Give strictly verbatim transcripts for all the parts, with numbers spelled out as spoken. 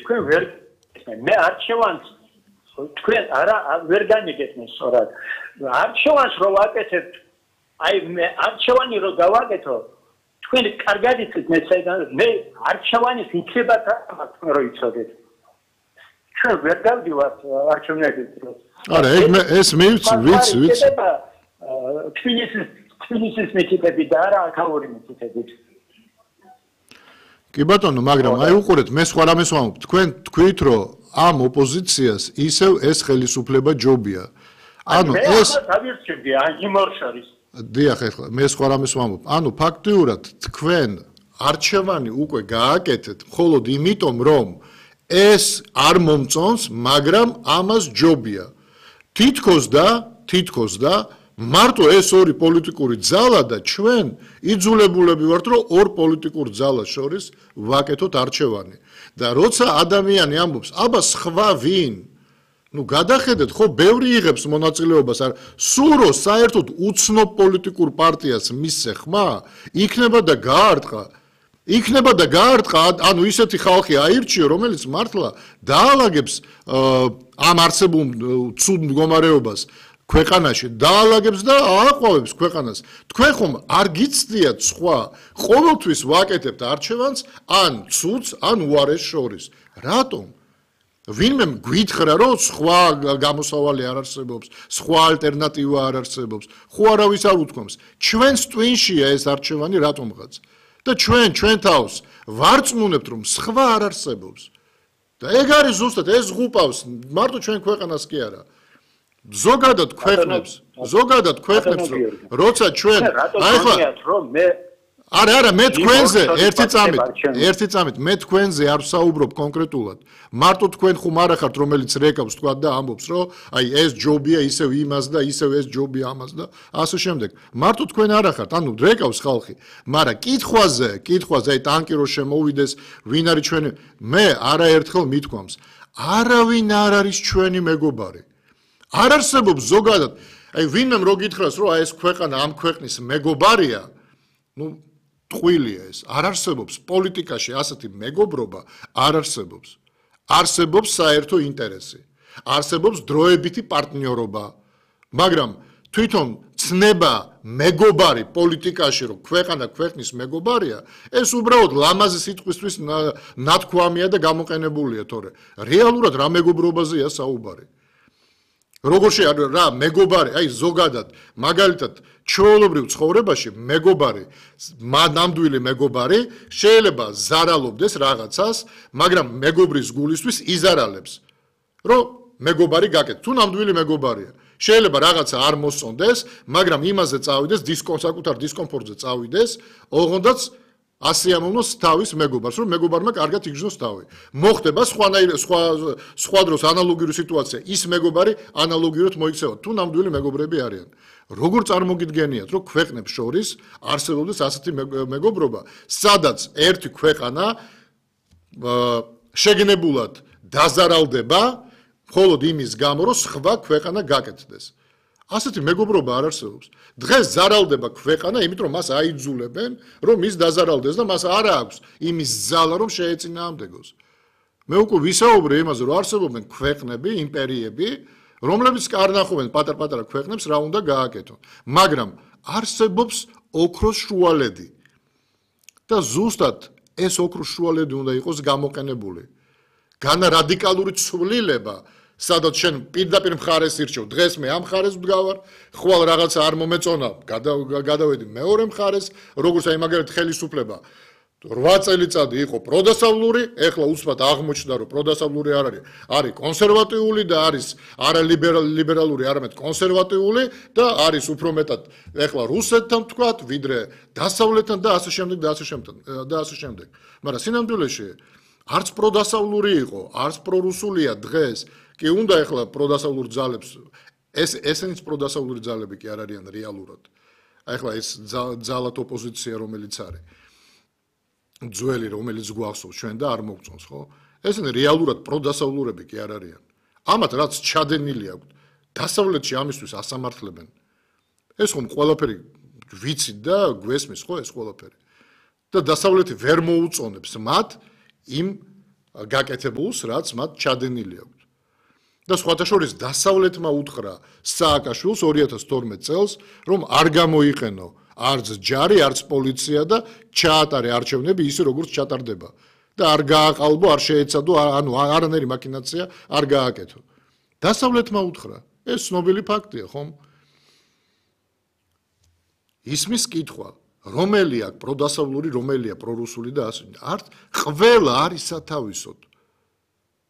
თქვენ ვერ მე არჩევანს თქვენ არა ვერ განიგეთნეს სწორად არჩევანს რო ვაკეთებთ აი მე არჩევანი რო გავაკეთო თქვენ კარგად იცით მე საიდან მე არჩევანის იქებათ თქვენ რო იცოდეთ ჩვენ ვერ გავდივართ არჩევნებից არა ეს მე ვიცი ვიცი ვიცი თბილისის თბილისის მეთითები და არა აქაური მეთითები კი ბატონო მაგრამ აი უყურეთ მე სხვა რამეს ვამბობ თქვენ თქვით რომ ამ ოპოზიციას ისევ ეს ხელისუფლება ჯობია ანუ ეს დავირჩევდი იმ ორ შორის დიახ ეხლა მე სხვა რამეს ვამბობ ანუ ფაქტიურად თქვენ არჩევანი უკვე გააკეთეთ მხოლოდ იმიტომ რომ ეს არ მომწონს მაგრამ ამას ჯობია თითქოს და თითქოს და მარტო ეს ორი პოლიტიკური ძალა და ჩვენ იძულებულები ვართ რომ ორ პოლიტიკურ ძალას შორის ვაკეთოთ არჩევანი და როცა ადამიანი ამბობს აბა სხვა ვინ ნუ გადახედეთ ხო ბევრი იღებს მონაწილეობას არ სულ რო საერთოდ უცნობ პოლიტიკურ პარტიას მისცე ხმა იქნება და გაარტყა იქნება და გაარტყა ანუ ისეთი ხალხი აირჩიო რომელიც მართლა დაალაგებს ამ არსებულ ცუდ მდგომარეობას ქვეყანაში დაალაგებს და ააყვავებს ქვეყანას თქვენ ხომ არ გიცდიათ სხვა ყოველთვის ვაკეთებთ არჩევანს ან ცუდს ან უარეს შორის რატომ ვინმე გვითხრა რომ სხვა გამოსავალი არ არსებობს სხვა ალტერნატივა არ არსებობს ხო არავის არ უთქვამს ჩვენს ტვინშია ეს არჩევანი რატომღაც და ჩვენ ჩვენ თავს ვარწმუნებთ რომ სხვა არ არსებობს და ეგ არის ზუსტად ეს ღუპავს მარტო ჩვენ ქვეყანას კი არა ზოგადად ქვეყნებს ზოგადად ქვეყნებს როცა ჩვენ აი ხა არა არა მე თქვენზე ერთი წამით ერთი წამით მე თქვენზე არ ვსაუბრობ კონკრეტულად მარტო თქვენ ხომ არ ახართ რომელიც რეკავს თქვა და ამბობს რომ აი ეს ჯობია ისევ იმას და ისევ ეს ჯობია ამას და ასე შემდეგ მარტო თქვენ არ ახართ ანუ რეკავს ხალხი მაგრამ კითხვაზე კითხვაზე აი ტანკი რო შემოვიდეს ვინ არის ჩვენი მე არაერთხელ მithქვამს არავინ არ არის ჩვენი მეგობარი არ არსებობს ზოგადად აი ვინმე რო გითხრას რომ აი ეს ქვეყანა ამ ქვეყნის მეგობარია ნუ ტყუილია ეს არ არსებობს პოლიტიკაში ასეთი მეგობრობა არ არსებობს არსებობს საერთო ინტერესი არსებობს დროებითი პარტნიორობა მაგრამ თვითონ ცნება მეგობარი პოლიტიკაში რომ ქვეყანა ქვეყნის მეგობარია ეს უბრალოდ ლამაზი სიტყვისთვის ნათქვამია და გამოყენებულია თორე რეალურად რა მეგობრობაზეა საუბარი როგორ შეიძლება რა მეგობარი აი ზოგადად მაგალითად ჩვეულებრივ ცხოვრებაში მეგობარი ნამდვილი მეგობარი შეიძლება ზარალობდეს რაღაცას მაგრამ მეგობრის გულისთვის იზარალებს რომ მეგობარი გაკეთე თუ ნამდვილი მეგობარია შეიძლება რაღაცა არ მოსწონდეს მაგრამ იმაზე წავიდეს დისკომფორტ დისკომფორტზე წავიდეს ოღონდაც ასიამოვნოს თავის მეგობარს რომ მეგობარმა კარგად იგრძნოს თავი მოხდება სხვანაირ სხვა სხვა დროს ანალოგიური სიტუაცია ის მეგობარი ანალოგიურად მოიქცევა თუ ნამდვილი მეგობრები არიან როგორ წარმოგიდგენიათ რომ ქვეყნებს შორის არსებობს ასეთი მეგობრობა სადაც ერთი ქვეყანა შეგნებულად დაზარალდება მხოლოდ იმის გამო რომ სხვა ქვეყანა გაკეთდეს ასეთი მეგობრობა არ არსებობს დღეს ზარალდება ქვეყანა იმიტომ რომ მას აიძულებენ რომ ის დაზარალდეს და მას არ აქვს იმის ძალა რომ შეეწინააღმდეგოს მე უკვე ვისაუბრე იმაზე რომ არსებობენ ქვეყნები იმპერიები რომლებიც არ ნახობენ პატარ-პატარა ქვეყნებს რა უნდა გააკეთონ მაგრამ არსებობს ოქროს შუალედი და ზუსტად ეს ოქროს შუალედი უნდა იყოს გამოყენებული განა რადიკალური ცვლილება სადაც შენ პირდაპირ მხარეს ირჩევ დღეს მე ამ მხარეს ვდგავარ ხვალ რაღაცა არ მომეწონა გადავედი მეორე მხარეს როგორც აი მაგალითად ხელისუფლება რვა წელიწადი იყო პროდასავლური ეხლა უცბად აღმოჩნდა რომ პროდასავლური არ არის არის კონსერვატიული და არის არა ლიბერალური არამედ კონსერვატიული და არის უფრო მეტად ეხლა რუსეთთან ვთქვათ ვიდრე დასავლეთთან და ასე შემდეგ და ასე შემდეგ და ასე შემდეგ მაგრამ სინამდვილეში არც პროდასავლური იყო არც პრორუსულია დღეს კი უნდა ეხლა პროდასავლურ ძალებს ეს ესენიც პროდასავლური ძალები კი არ არიან რეალურად აი ეხლა ეს ძალად ოპოზიცია რომელიც არის ძველი რომელიც გვახსოვს ჩვენ და არ მოგწონს ხო ესენი რეალურად პროდასავლურები კი არ არიან ამათ რაც ჩადენილი აქვს დასავლეთში ამისთვის ასამართლებენ ეს ხომ ყველაფერი ვიცით და გვესმის ხო ეს ყველაფერი და დასავლეთი ვერ მოუწონებს მათ იმ გაკეთებულს, რაც მათ ჩადენილი აქვთ. და სხვათა შორის დასავლეთმა უთხრა სააკაშვილს ორი ათას თორმეტ წელს, რომ არ გამოიყენო არც ჯარი, არც პოლიცია და ჩაატარე არჩევნები ისე როგორც ჩატარდება. და არ გააყალბო, არ შეეცადო, ანუ არანაირი მაკინაცია არ გააკეთო. დასავლეთმა უთხრა, ეს ცნობილი ფაქტია, ხომ? ისმის კითხვა, რომელი აქვს პროდასავლური, რომელია პრორუსული და ასე. არც ყველა არის სათავისოდ.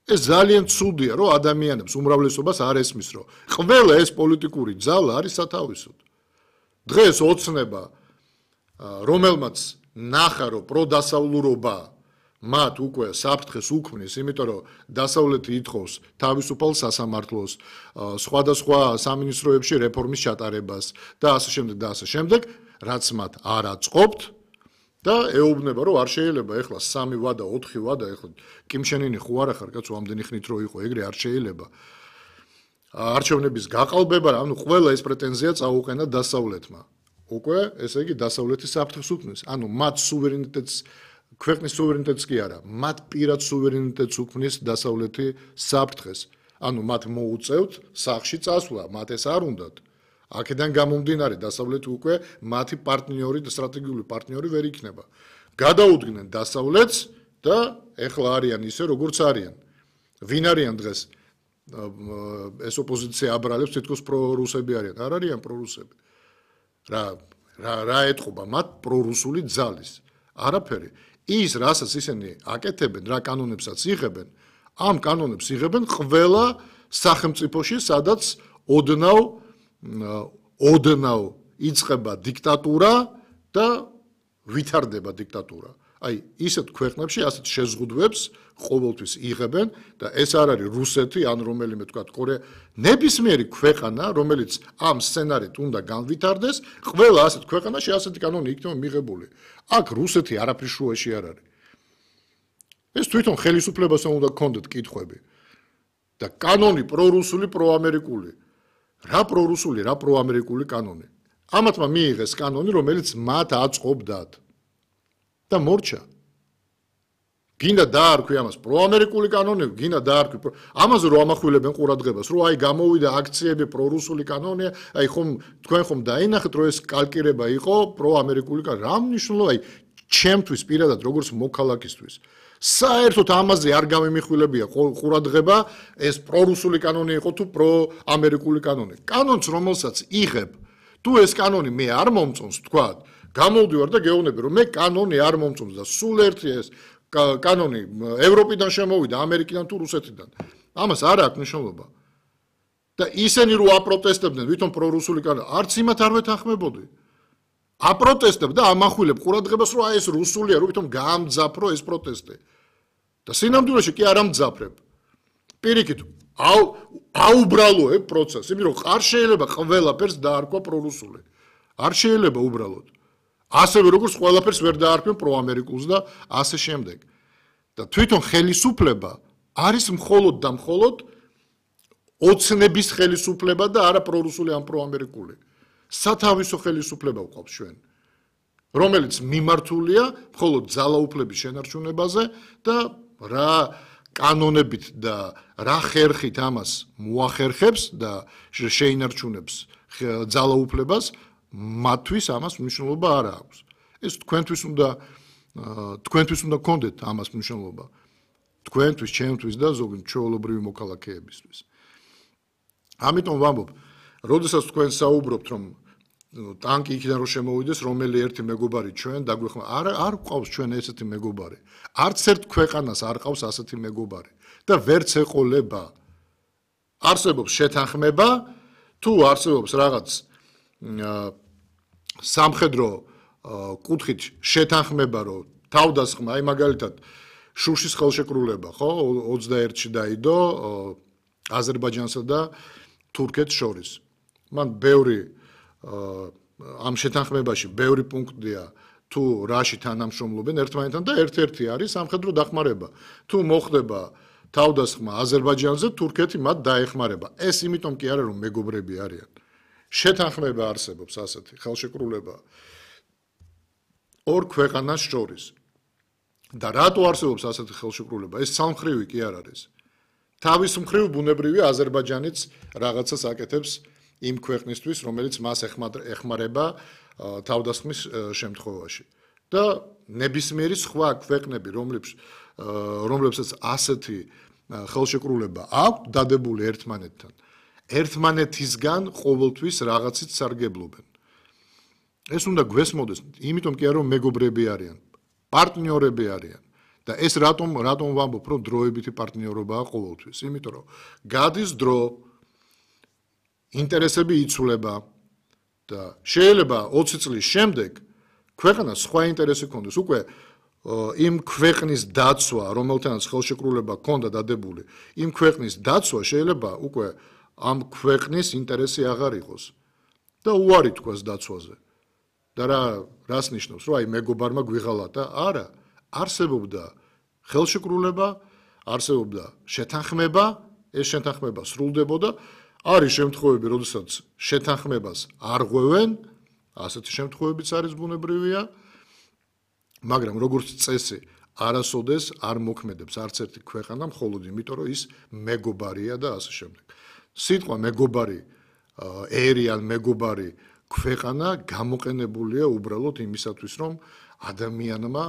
ეს ძალიან ცუდია, რომ ადამიანებს უმრავლესობას არ ესმის, რომ ყველა ეს პოლიტიკური ძალა არის სათავისოდ. დღეს ოცნება, რომელმაც ნახა, რომ პროდასავლურობა მათ უკვე საფრთხეს უქმნის, იმიტომ რომ დასავლეთი ითხოვს თავისუფალ სასამართლოს, სხვადასხვა სამინისტროებში რეფორმის ჩატარებას და ასე შემდეგ და ასე შემდეგ, რაც მათ არ აწყობთ და ეუბნება, რომ არ შეიძლება ეხლა სამი ვადა, ოთხი ვადა, ეხლა კიმშენინი ხო არა ხარ, კაცო, ამდენი ხნით რო იყო, ეგრე არ შეიძლება. არჩევნების გაყალბება, ანუ ყველა ეს პრეტენზია წაუყენა დასავლეთმა. უკვე, ესე იგი, დასავლეთი საფრთხეს უქმნის, ანუ მათ სუვერენიტეტს ქვეყნის სუვერენიტეტს კი არა, მათ პირად სუვერენიტეტს უქმნის დასავლეთი საფრთხეს. ანუ მათ მოუწევთ სახლში წასვლა, მათ ეს არ უნდათ. აქედან გამომდინარე დასავლეთი უკვე მათი პარტნიორი და სტრატეგიული პარტნიორი ვერ იქნება. გადაუდგნენ დასავლეთს და ეხლა არიან ისე როგორც არიან. ვინ არიან დღეს? ეს ოპოზიცია აბრალებს თითქოს პრორუსები არიან. არ არიან პრორუსები. რა რა რა ეთყობა მათ პრორუსული ძალის? არაფერი. ის რასაც ისინი აკეთებენ, რა კანონებსაც იღებენ, ამ კანონებს იღებენ ყველა სახელმწიფოში, სადაც ოდნავ ოდნავ იწყება დიქტატურა და ვითარდება დიქტატურა. აი, ისეთ ქვეყნებში ასეთ შეზღუდვებს ყოველთვის იღებენ და ეს არ არის რუსეთი ან რომელიმე თქვა კორეა, ნებისმიერი ქვეყანა, რომელიც ამ სცენარით უნდა განვითარდეს, ყველა ასეთ ქვეყანაში ასეთი კანონი იქნება მიღებული. აქ რუსეთი არაფრის შუაში არ არის. ეს თვითონ ხელისუფლებასთან უნდა გქონდეთ კითხვები. და კანონი პრორუსული, პროამერიკული. რა პრორუსული, რა პროამერიკული კანონი. ამათმა მიიღეს კანონი, რომელიც მათ აწყობდათ. და მორჩა. გინდა დაარქვი ამას პროამერიკული კანონი, გინდა დაარქვი ამაზე რომ ამახვილებენ ყურადღებას, რომ აი გამოვიდა აქციები პრორუსული კანონია, აი ხომ თქვენ ხომ დაინახეთ, რომ ეს კალკირება იყო პროამერიკული კანონი. რა მნიშვნელობა, აი ჩემთვის პირადად როგორც მოქალაქისთვის. საერთოდ ამაზე არ გამიმიხვილებია ყურადღება, ეს პრორუსული კანონი იყო თუ პროამერიკული კანონი. კანონს რომელსაც იღებ, თუ ეს კანონი მე არ მომწონს, თქვა გამოვდივარ და გეუბნები, რომ მე კანონი არ მომწონს და სულ ერთი ეს კანონი ევროპიდან შემოვიდა, ამერიკიდან თუ რუსეთიდან. ამას არ აქვს მნიშვნელობა. და ისინი რო აპროტესტებდნენ, ვითომ პრორუსული კანონი, არც იმათ არ ვეთანხმებოდი. აპროტესტებ და ამახვილებ ყურადღებას, რომ აი ეს რუსულია, რომ ვითომ გაამძაფრო ეს პროტესტი. და სინამდვილეში კი არ ამძაფრებ. პირიქით, აუ აუბრალოებ პროცესს, იმიტომ რომ არ შეიძლება ყველაფერს დაარქვა პრორუსული. არ შეიძლება უბრალოდ. ასევე როგორც ყველაფერს ვერ დაარქვენ პროამერიკულს და ასე შემდეგ. და თვითონ ხელისუფლება არის მხოლოდ და მხოლოდ ოცნების ხელისუფლება და არა პრორუსული ან პროამერიკული. სათავისო ხელისუფლება ვყავს ჩვენ, რომელიც მიმართულია მხოლოდ ძალაუფლების შენარჩუნებაზე და რა კანონებით და რა ხერხით ამას მოახერხებს და შეინარჩუნებს ძალაუფლებას, მათთვის ამას მნიშვნელობა არ აქვს. ეს თქვენთვის უნდა თქვენთვის უნდა გქონდეთ ამას მნიშვნელობა. თქვენთვის, ჩემთვის და ზოგადად ჩვეულებრივი მოქალაქეებისთვის. ამიტომ ვამბობ, როდესაც თქვენ საუბრობთ, რომ ტანკი იქიდან რომ შემოვიდეს, რომელი ერთი მეგობარი ჩვენ დაგვეხმარა, არ არ ყავს ჩვენ ესეთი მეგობარი. არც ერთ ქვეყანას არ ყავს ასეთი მეგობარი და ვერც ეყოლება. არსებობს შეთანხმება, თუ არსებობს რაღაც სამხედრო კუთხით შეთანხმება, რომ თავდასხმა, აი მაგალითად შუშის ხელშეკრულება, ხო, ოცდაერთში დაიდო აზერბაიჯანსა და თურქეთს შორის. მან ბევრი ამ შეთანხმებაში ბევრი პუნქტია, თუ რაში თანამშრომლობენ ერთმანეთთან და ერთ-ერთი არის სამხედრო დახმარება. თუ მოხდება თავდასხმა აზერბაიჯანზე, თურქეთი მათ დაეხმარება. ეს იმიტომ კი არა, რომ მეგობრები არიან. შეთანხმება არსებობს ასეთი ხელშეკრულება ორ ქვეყანას შორის. და რატო არსებობს ასეთი ხელშეკრულება? ეს სამხრივი კი არ არის. თავის მხრივ ბუნებრივი აზერბაიჯანიც რაღაცას აკეთებს იმ ქვეყნისთვის, რომელიც მას ეხმარება თავდასხმის შემთხვევაში. და ნებისმიერი სხვა ქვეყნები, რომლებსაც ასეთი ხელშეკრულება აქვს დადებული ერთმანეთთან, ერთმანეთისგან ყოველთვის რაღაცით სარგებლობენ. ეს უნდა გვესმოდეს, იმიტომ კი არა რომ მეგობრები არიან, პარტნიორები არიან. და ეს რატომ რატომ ვამბობ, რომ დროებითი პარტნიორობაა ყოველთვის? იმიტომ რომ გადის დრო, ინტერესები იცვლება და შეიძლება ოცი წლის შემდეგ ქვეყანას სხვა ინტერესი ქონდეს. უკვე იმ ქვეყნის დაცვა, რომელთანაც ხელშეკრულება ქონდა დადებული, იმ ქვეყნის დაცვა შეიძლება უკვე ამ ქვეყნის ინტერესი აღარ იყოს და უარი თქვას დაცვაზე. და რა რას ნიშნავს, რომ აი მეგობარმა გვიღალატა? არა, არსებობდა ხელშეკრულება, არსებობდა შეთანხმება, ეს შეთანხმება სრულდებოდა. არის შემთხვევები, როდესაც შეთანხმებას არ ღვევენ, ასეთი შემთხვევებიც არის ბუნებრივია, მაგრამ როგორც წესი, არასოდეს არ მოქმედებს არც ერთი ქვეყანა მხოლოდ იმიტომ, რომ ის მეგობარია და ასე შემდეგ. სიტყვა მეგობარი ერი ან მეგობარი ქვეყანა გამოყენებულია უბრალოდ იმისათვის, რომ ადამიანმა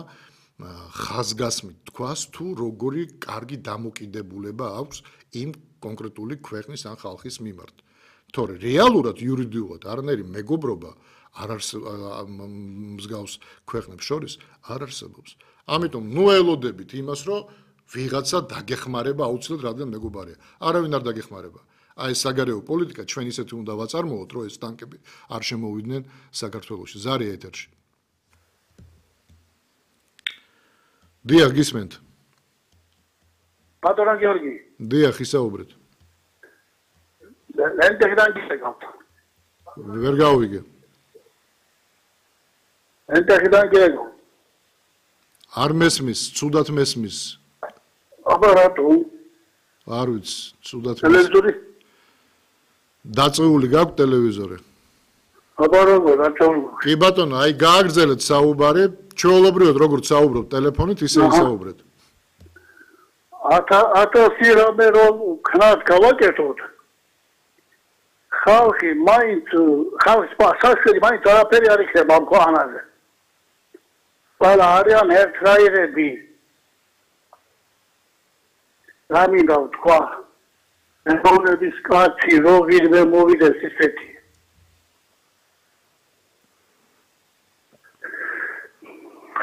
ხაზგასმით თქვას, თუ როგორი კარგი დამოკიდებულება აქვს იმ კონკრეტული ქვეყნის ან ხალხის მიმართ. თორე რეალურად იურიდიულად არანაირი მეგობრობა არ არსებობს მსგავს ქვეყნებს შორის არ არსებობს. ამიტომ ნუ ელოდებით იმას, რომ ვიღაცა დაგეხმარება აუცილებლად რადგან მეგობარია. არავინ არ დაგეხმარება. აი ეს საგარეო პოლიტიკა ჩვენ ისეთი უნდა ვაწარმოოთ, რომ ეს ტანკები არ შემოვიდნენ საქართველოში. ზარია ეთერში. დიახ, გისმენთ. ბატონო გიორგი. დიახ, ისაუბრეთ. ენტეგრან გისაგავთ. ვერ გავიგე. ენტეგრან გიორგი. არ მესმის, ცუდად მესმის. აბა რატო? არ ვიცი, ცუდად მესმის. ტელევიზორი? დაწეული გაქვს ტელევიზორი? აბა როგორ, რატო? კი ბატონო, აი გააგრძელეთ საუბარი, ჩვეულებრივად როგორც საუბრობთ ტელეფონით, ისე ისაუბრეთ. ათასი რამე რომ ქნას გავაკეთოთ. ხალხი მაინც ხალხს სასწრაფოდ მაინც არაფერი არ იქნება ამ ქვეყანაზე. ყველა არიან ერთნაირები. რამინდა ვთქვა, ევროპის კაცი რო ვინმე მოვიდეს ისეთი.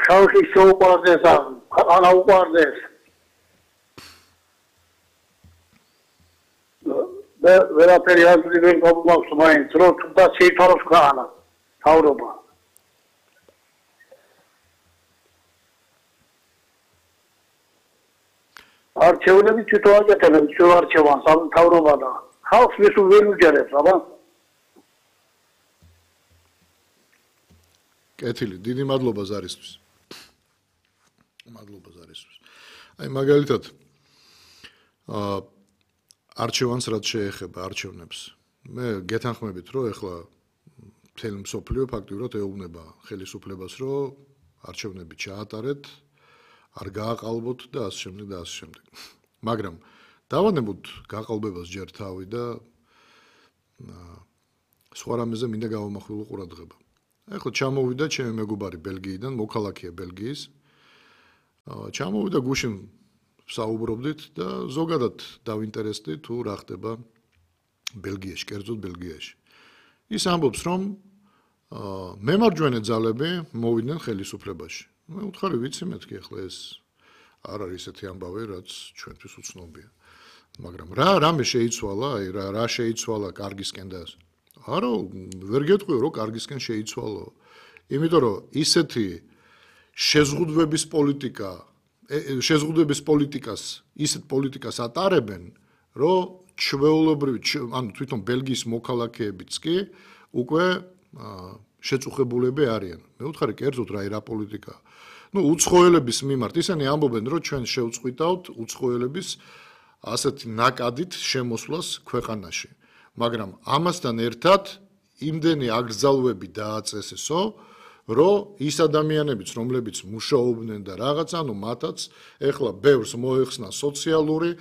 ხალხი შეუყვარდეს, ანა უყვარდეს. და ვერაფერი არ ძლიერ გამომაქვს მაინც, რომ თუნდაც შეითვალოს ქვეყანა, თავრობა. არჩევნები თვითონ აკეთებს ჩვენ არჩევანს, ამ თავრობა და ხალხს მის ვერ უჯერებს, აბა. კეთილი, დიდი მადლობა ზარისთვის. მადლობა ზარისთვის. აი მაგალითად აა არჩევანს რაც შეეხება არჩევნებს. მე გეთანხმებით, რომ ეხლა მთელი მსოფლიო ფაქტიურად ეუბნება ხელისუფლებას, რომ არჩევნები ჩაატარეთ, არ გააყალბოთ და ასე შემდეგ და ასე შემდეგ. მაგრამ დავანებოთ გაყალბებას ჯერ თავი და სხვა რამეზე მინდა გავამახვილო ყურადღება. ეხლა ჩამოვიდა ჩემი მეგობარი ბელგიიდან, მოქალაქეა ბელგიის. ჩამოვიდა გუშინ საუბრობდით და ზოგადად დავინტერესდი თუ რა ხდება ბელგიაში, კერძოდ ბელგიაში. ის ამბობს, რომ მემარჯვენე ძალები მოვიდნენ ხელისუფლებაში. მე უთხარი ვიცი მეთქი ახლა ეს არ არის ესეთი ამბავი, რაც ჩვენთვის უცნობია. მაგრამ რა რამე შეიცვალა, აი რა რა შეიცვალა კარგისკენ და არა, ვერ გეტყვიო, რომ კარგისკენ შეიცვალო. იმიტომ რომ ისეთი შეზღუდვების პოლიტიკა შეზღუდვების პოლიტიკას, ისეთ პოლიტიკას ატარებენ, რომ ჩვეულებრივი, ანუ თვითონ ბელგიის მოქალაქეებიც კი უკვე შეწუხებულები არიან. მე ვუთხარი, კერძოდ რა ირა პოლიტიკა. ნუ უცხოელების მიმართ ისინი ამბობენ, რომ ჩვენ შევწყვიტავთ უცხოელების ასეთი ნაკადით შემოსვლას ქვეყანაში. მაგრამ ამასთან ერთად იმდენი აკრძალვები დააწესესო, რომ ის ადამიანებიც, რომლებიც მუშაობდნენ და რაღაც, ანუ მათაც ეხლა ბევრს მოეხსნა სოციალური